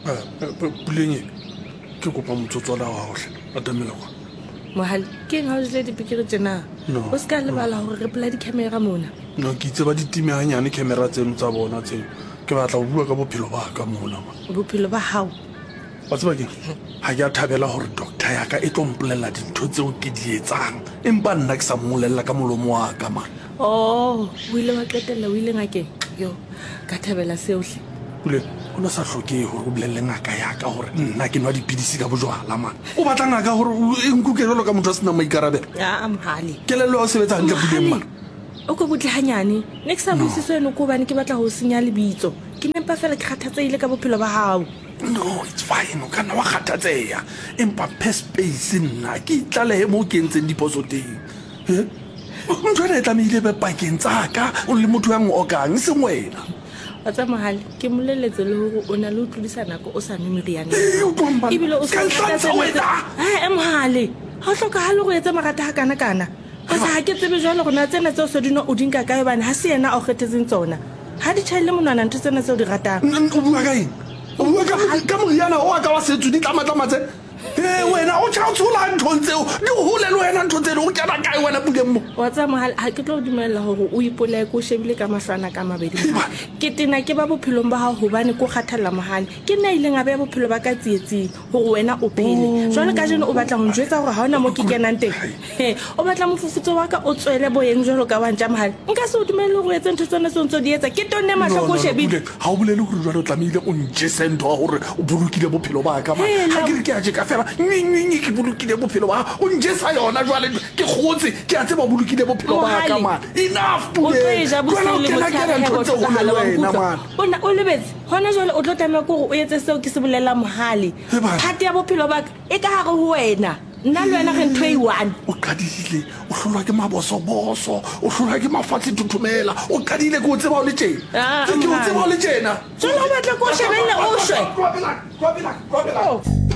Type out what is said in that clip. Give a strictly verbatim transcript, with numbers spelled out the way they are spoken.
Puleng e ke kopa motsotswana wa gaotlhe atamela kwa. Mohale, ke eng ga o jele dipikiri tjena? No. O se ka lebala gore re pola di-camera mona. No, ke itse ba ditime ganyane camera tseno tsa bona tseno. Ke batla go bua ka bophelo ba ka mona ma. Bophelo ba gago? Wa tseba keng, ga ke a thabela gore doctor yaka e tlo mpolelela dintho tseo ke di etsang, empa nna ke sa mmolelela ka molomo wa ka man. Oh, o ile wa qetella o ile ngakeng? Yo, ka thabela seohle. Puleng, o ne sa tlhokege gore o bolelele ngaka yaka gore nna ke nwa dipidisi ka bojwala man. O batla ngaka gore e nkuke jalo ka motho a senang maikarabelo? Aa, Mohale. Kelello ya o sebetsa hantle, Puleng man. O ko butle hanyane. Ne ke sa buise seno ko hobane ke batla ho senya lebitso. Ke nempa fela ke kgathatsehile ka bophelo ba hao. No, it's fine, o ka nna wa kgathatseha, empa mphe space nna ke itlalehe moo ke entseng diphoso teng. Eh? Ntho ena e tlamehile be pakeng tsa ka o le motho ya ngokang, e seng wena. Wa tsa Mohale, ke moleletse le hore o na le ho tlodisa nako o sa nwe meriana. Eh, utlwang banna. Ebile o Ska sa ntlhantsha wena. Eh, Mohale, ha o hlokahale hore o etse marata ha kana kana. Ka ha ke tsebe jwale hore na tsena tseo se di nwa o di nka kae, hobane ha se yena a o kgethetseng tsona. Ha di tjhaelle monwana ntho tsena tseo di ratang. O bua ka eng? O bua ka ka moriana o wa ka wa setso ditlamatlama tse? Eh, wena o tjha o tshola nthong tseo, di hole le wena ntho tseno, o kena kae wena Puleng mo? Wa tseba Mohale, ha ke tlo o dumella hore o ipolaye ke o shebile ka mahlo ana ka mabedi. Ke tena ke ba bophelong ba hao hobane ke o kgathalla Mohale. Ke nna a ileng a beha bophelo ba ka tsietsing hore wena o phele. Jwale kajeno o batla ho njwetsa hore ha hona moo ke kenang teng. He, o batla mofufutso wa ka o tswele boyeng jwalo ka wa ntja Mohale. Nka se o dumelle hore o etse ntho tsena tseo ntso di etsa. Ke tonne mahlo ke o shebile. Ha o bolele hore jwale o tlamehile o njese ntho ya hore o bolokile bophelo ba ka. Ha ke re ke a tjeka fela, nyi nyi ke bolokile bophelo ba, o njesa yona jwale ke kgotse, ke a tseba o bolokile bophelo ba ka man. Enough O tlo e ja Puleng. bosiu Jwale o le kena motshehare kena he ntho o tse hole hlokahala le wa wena nkutlwa. man. O na o lebetse hona jwale o tlo tlameha ke hore o etse seo ke se bolelang Mohale. He bana. Phate ya bophelo ba ka e ka hare ho wena. Nna le wena re ntho e one. O qadile, o hlolwa ke mabosoboso, o hlolwa ke mafatshe thothomela. O qadile ke o tseba o le tjena. Ah, Ke o Mohale. tseba o le tjena. Jwale o batla ke o shebelle o shwe. Tloha pela, tloha pela, tloha pela.